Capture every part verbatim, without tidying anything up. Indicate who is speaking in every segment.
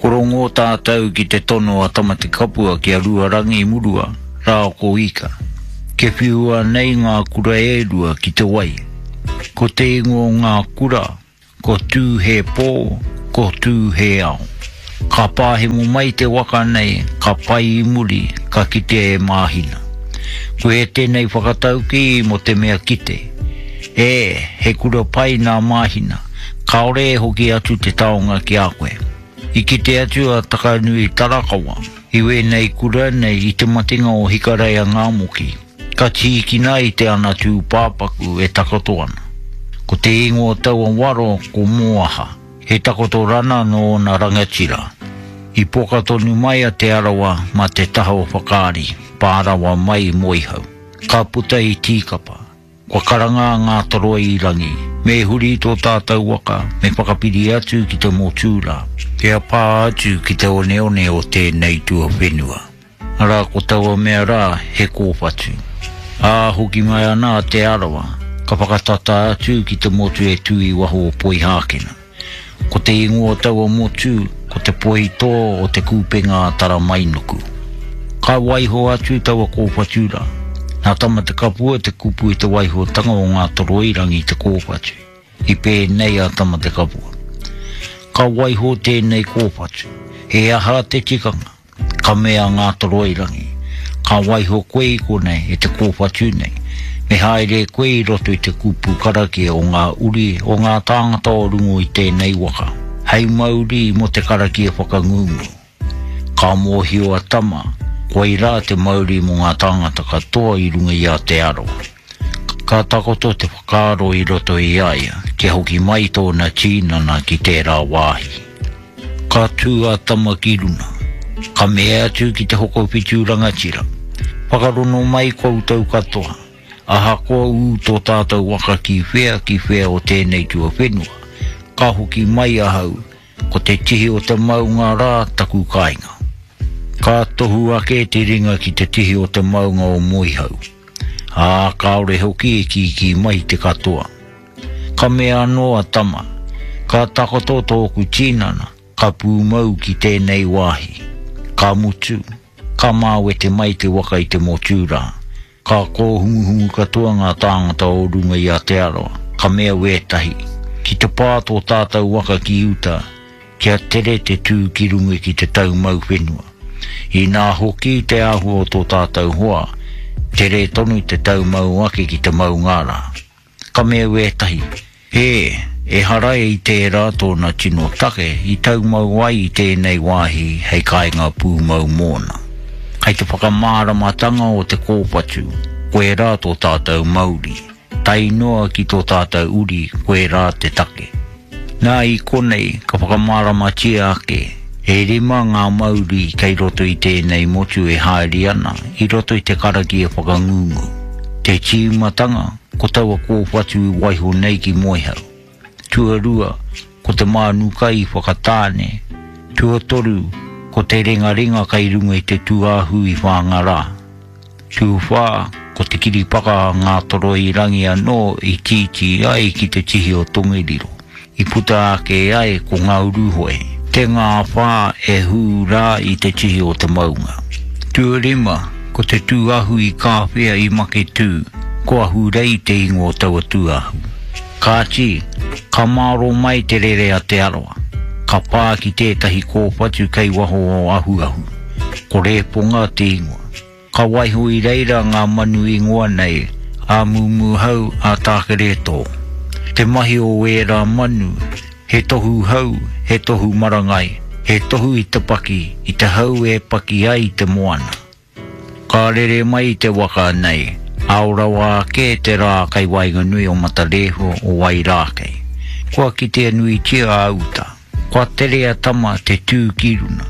Speaker 1: Ko rongo tātou ki te tono a Tamatekapua ki a Ruarangi Murua, rā ko Ika. Ke whiua nei ngā kura e rua ki te wai. Ko te ingoa o ngā kura, ko Tū he pō, ko Tū he ao. Ka pāhemo mai te waka nei, ka pai i muri, ka kitea e Māhina. Ko e tēnei whakataukī mō te mea kite. E, he kura pai nā Māhina, kāore e hoki atu te taonga ki a koe. I kite atu a Takanui Tarakawa, i wēnei kura nei i te matenga o Hikareia Ngāmoki, ka tīkina i te ana tūpāpaku e takoto ana. Ko te ingoa o taua waro ko Moaha, he takoto rana nō ōna rangatira. I poka tonu mai a Te Arawa mā te taha o Whakaari, pārawa mai i Moehau. Ka puta i Tīkapa. Kua karanga a Ngātoroirangi, me huri tō tātou waka, me whakapiri atu ki te motu rā, kia pā atu ki te oneone o tēnei tuawhenua. Arā ko taua mea rā, he kōwhatu. Ā, hoki mai ana a Te Arawa, ka whakatata atu ki te motu e tū i waho o Poihākena. Ko te ingoa o taua motu, ko te poitō o te kūpenga a Taramainuku. Ka waiho atu taua kōwhatu rā. Nā Tamatekapua te kupu i te waihotanga o Ngātoroirangi i te kōwhatu. I pēnei a Tamatekapua. Ka waiho tēnei kōwhatu. He aha te tikanga? Ka mea a Ngātoroirangi. Ka waiho koe i konei e te kōwhatu nei. Me haere koe i roto i te kupu karakia o ngā uri o ngā tāngata o runga i tēnei waka. Hei mauri mō te karakia whakangungu. Ka mōhio a Tama, koirā te mauri mō ngā tāngata katoa i runga i a Te Arawa. Ka takoto te whakaaro i roto i a ia, kia hoki mai tōna tīnana ki tērā wāhi. Ka tū a Tama ki runa. Ka mea atu ki te hokowhitu rangatira. Whakarono mai koutou katoa. Ahakoa ū tō tātou waka ki whea ki whea o tēnei tuawhenua. Ka hoki mai ahau, ko te tihi o te maunga rā taku kāinga. Ka tohu ake te ringa ki te tihi o te maunga o Moehau. Ā, kāore hoki e kīkī mai te katoa. Ka mea anō a Tama, ka takoto tōku tīnana, ka pūmau ki tēnei wāhi. Ka mutu, ka māwete mai te waka i te motu rā. Ka kōhunguhungu katoa ngā tāngata o runga i a Te Arawa, ka mea wētahi, ki te pā tō tātou waka ki uta, kia tere te tū ki runga ki te taumau whenua. Inā hoki te āhua o tō tātou hoa, tere tonu te taumau ake ki te maunga rā. Ka mea wētahi, e, ehara i tērā tōna tino take i taumau ai i tēnei wāhi hei kāinga pūmau mōna. Hei te whakamāramatanga o te kōwhatu, koirā tō tātou mauri. Tae noa ki tō tātou uri, koirā te take. Nā i konei ka whakamāramatia ake, e rima ngā mauri kei roto i tēnei motu e haere ana i roto i te karakia whakangungu. Te tīmatanga, ko taua kōwhatu i waiho nei ki Moehau. Tuarua, ko te mānuka i Whakatāne. Tuatoru, ko te rengarenga kei runga i te tūāhu i Whāngarā. Tuawhā, ko te kiripaka a Ngātoroirangi anō i tītī ai ki te tihi o Tongeriro. I puta ake ai ko Ngāuruhoe, te ngāwhā e hū rā i te tihi o te maunga. Tuarima, ko te tūāhu i Kāwhia i Maketū, ko Ahurei te ingoa o taua tūāhu. Kāti, ka māro mai te rere a Te Arawa, ka pā ki tētahi kōwhatu kei waho o Ahuahu, ko Rēponga te ingoa. Ka waiho i reira ngā manu ingoa nei, a Mumuhau, a Tākeretō. Te mahi o ērā manu, he tohu hau, he tohu marangai, he tohu i te paki, i te hau e paki ai te moana. Ka rere mai te waka nei, ao rawa ake te rā kei waenganui o Matarēhua o Wairākei. Kua kitea nuitia a uta, kua tere a Tama te tū ki runa.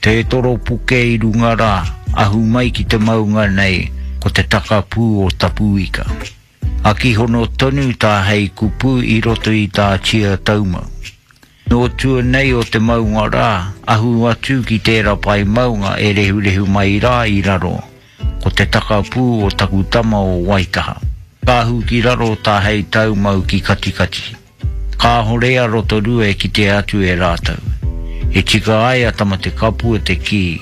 Speaker 1: Te toropuke i runga rā, ahu mai ki te maunga nei, ko te takapū o Tapuika. Akihono tonu tā hei kupu i roto i tā Tia Taumau. Nō tua nei o te maunga rā, ahu atu ki tērā pae maunga e rehurehu mai rā i raro, ko te takapū o taku tama o Waitaha. Ka ahu ki raro tā hei taumau ki Katikati. Kāhore a Rotorua e kitea atu e rātou. E tika ai a Tamatekapua te kī,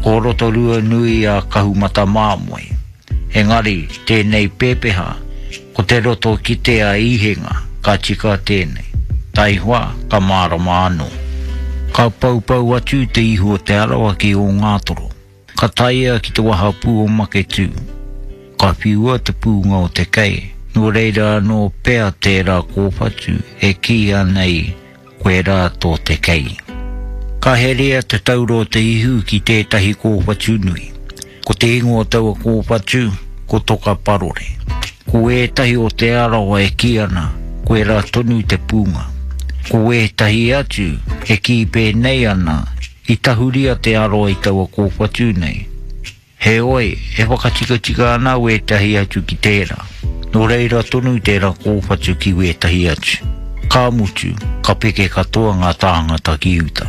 Speaker 1: ko Rotorua nui a Kahumatamomoe. Engari, tēnei pēpeha, ko te roto kite a Ihenga, ka tika tēnei. Taihoa, ka mārama anō. Ka paupau atu te ihu o Te Arawa ki Ōngātoro. Ka taia ki te wahapū o Maketū. Ka whiua te pūnga o te kei, nō reira anō pea tērā kōwhatu e kīia nei koirā tō te kei. Ka herea te taura o te ihu ki tētahi kōwhatu nui. Ko te ingoa o taua kōwhatu, ko Toka Parore. Ko ētahi o Te Arawa e kī ana, koirā tonu te pūnga. Ko ētahi atu e kī pēnei ana, i tahuri a Te Arawa i taua kōwhatu nei. Heoi, e whakatikatika ana wētahi atu ki tērā. Nō reira tonu tērā kōwhatu ki wētahi atu. Ka mutu, ka peke katoa ngā tāngata ki uta.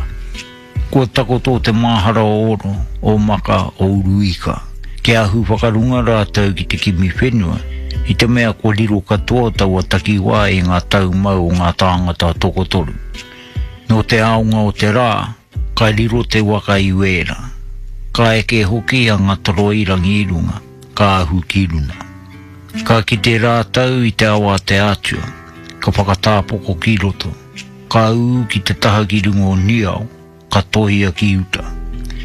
Speaker 1: Kua takoto te māhara o Oro, o Maka, o Uruika. Kia ahu whakarunga rātou ki te kimi whenua, i te mea kua riro katoa taua takiwā i ngā taumau o ngā tāngata tokotoru. Nō te aonga o te rā, ka riro te waka i Wēra. Ka eke hoki a Ngatoroirangi i runga, ka ahu ki runa. Ka kite rātou i te awa a te Atua, ka whakatāpoko ki roto, ka ū ki te taha ki runga o Niao, ka tohia ki uta.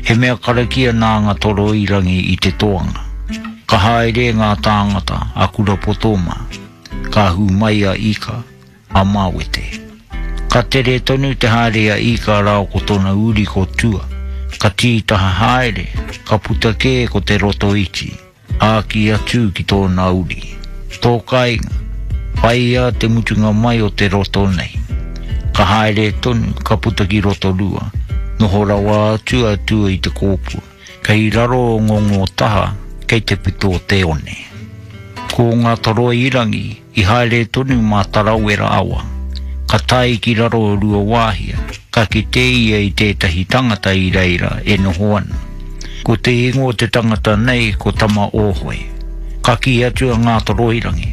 Speaker 1: He mea karakia nā Ngatoroirangi i te toanga. Ka haere ngā tāngata a Kurapoto mā, ka ahu mai a Ika, a Mawete. Ka tere tonu te haere a Ika rāua ko tōna uri ko Tua, ka tītaha haere, ka puta kē ko te roto iti, āki atu ki tōna uri. Tō kāinga, whāia te mutunga mai o te roto nei. Ka haere tonu, ka puta ki Rotorua, noho rawa atu a Tua i te kōpua, kei raro o Ngongotaha, kei te pito o te one. Ko Ngatoroirangi i haere tonu mā Tarawera awa. Ka tae ki raro o Ruawāhia, ka kite ia i tētahi tangata i reira e noho ana. Ko te ingoa o te tangata nei ko Tama Ōhoe. Ka kī atu a Ngatoroirangi,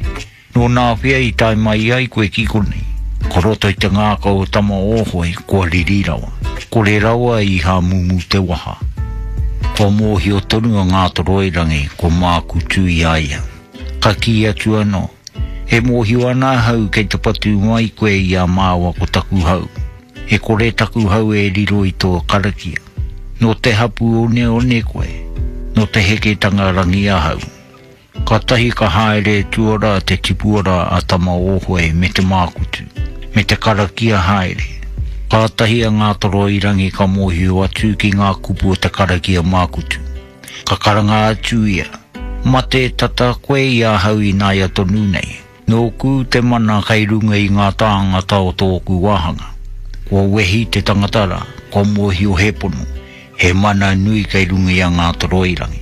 Speaker 1: Nō nāwhea i tae mai ai koe ki konei? Ko roto i te ngākau o Tama Ōhoe kua riri rawa. Kore rawa i hāmumu te waha. Kua mōhio tonu a Ngātoroirangi kua mākutu i a ia. Ka kī atu anō, E mōhio ana ahau kei te patu mai koe i a māua ko taku hau. E kore taku hau e riro i tō karakia. Nō te hapū oneone koe, nō te heketanga rangi ahau. Kātahi ka haere tuara te tipuara a Tama Ōhoe me te mākutu, me te karakia haere. Kātahi a Ngātoroirangi ka mōhio atu ki ngā kupu o te karakia mākutu. Ka karanga atu ia, Mate tata koe i ahau ināia tonu nei. Nōku te mana kei runga i ngā tāngata o tōku wāhanga. Kua wehi te tangata rā, kua mōhio he pono, he mana nui kei runga i a Ngātoroirangi.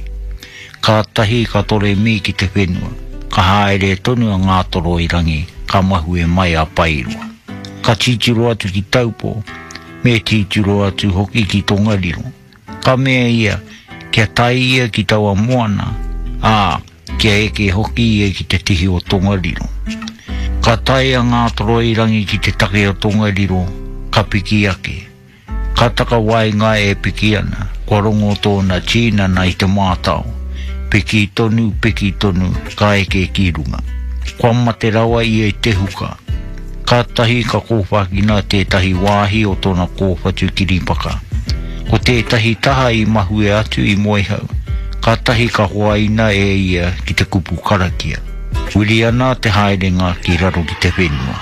Speaker 1: Kātahi ka toremi ki te whenua, ka haere tonu a Ngātoroirangi ka mahue mai a Paeroa. Ka titiro atu ki Taupō, me titiro atu hoki ki Tongariro. Ka mea ia, kia tae ia ki taua moana, ā, kia eke hoki ia ki te tihi o Tongariro. Ka tae a Ngātoroirangi ki te take o Tongariro, ka piki ake. Ka takawaenga e piki ana, kua rongo tōna tīnana i te mātao. Piki tonu, piki tonu, ka eke ki runga. Kua mate rawa ia i te huka. Kātahi ka kōwhakina tētahi wāhi o tōna kōwhatu kiripaka. Ko tētahi taha i mahue atu i Moehau, kātahi ka hoaina e ia ki te kupu karakia. Wiri ana te haerenga ki raro ki te whenua.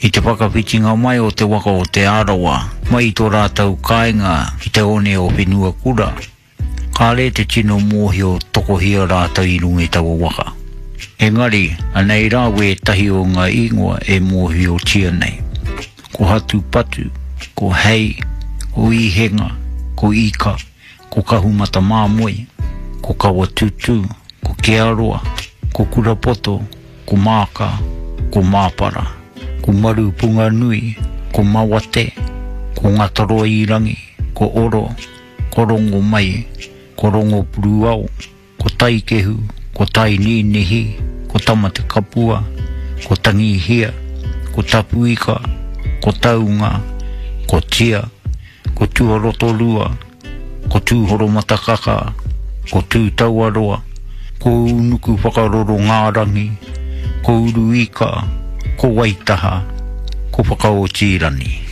Speaker 1: I te whakawhitinga mai o te waka o Te Arawa mai i tō rātou kāinga ki te one o Whenuakura, Kāre te tino mōhio tokohia rātou i runga i taua waka. Engari, anei rā wētahi o ngā ingoa e mōhiotia nei. Ko Hatupatu, ko Hei, ko Ihenga, ko Ika, ko Kahumatamāmoe, ko Kawatutu, ko Kearoa, ko Kurapoto, ko Māka, ko Māpara, ko Marupunganui, ko Mawate, ko Ngatoroirangi, ko Oro, ko Rongomai, ko Rongopuruao, ko Taikehu, ko Taininihi, ko Tamatekapua, ko Tangihia, ko Tapuika, ko Taunga, ko Tia, ko ko Tuarotorua, ko Tūhoromatakaka, ko Tūtauaroa, ko Unuku Whakaroro Ngārangi, ko Uruika, ko Waitaha, ko Whakaotirani.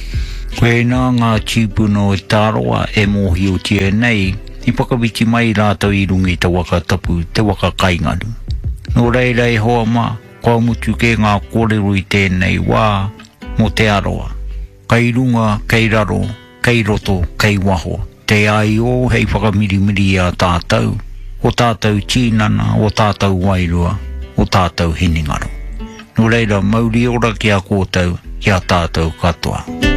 Speaker 1: Koe nā ngā tīpuna o Te Arawa e mōhiotia nei, i whakawhiti mai rātou i runga i te waka tapu, te waka kaingaru. Nō reira e hoa mā, kua mutu kē ngā kōrero i tēnei wā mō Te Arawa. Kei runga, kei raro, kei roto, kei waho. Te aio hei whakamirimiri i a tātou, o tātou tīnana, o tātou wairua, o tātou hinengaro. Nō reira, mauri ora ki a koutou, ki a tātou katoa.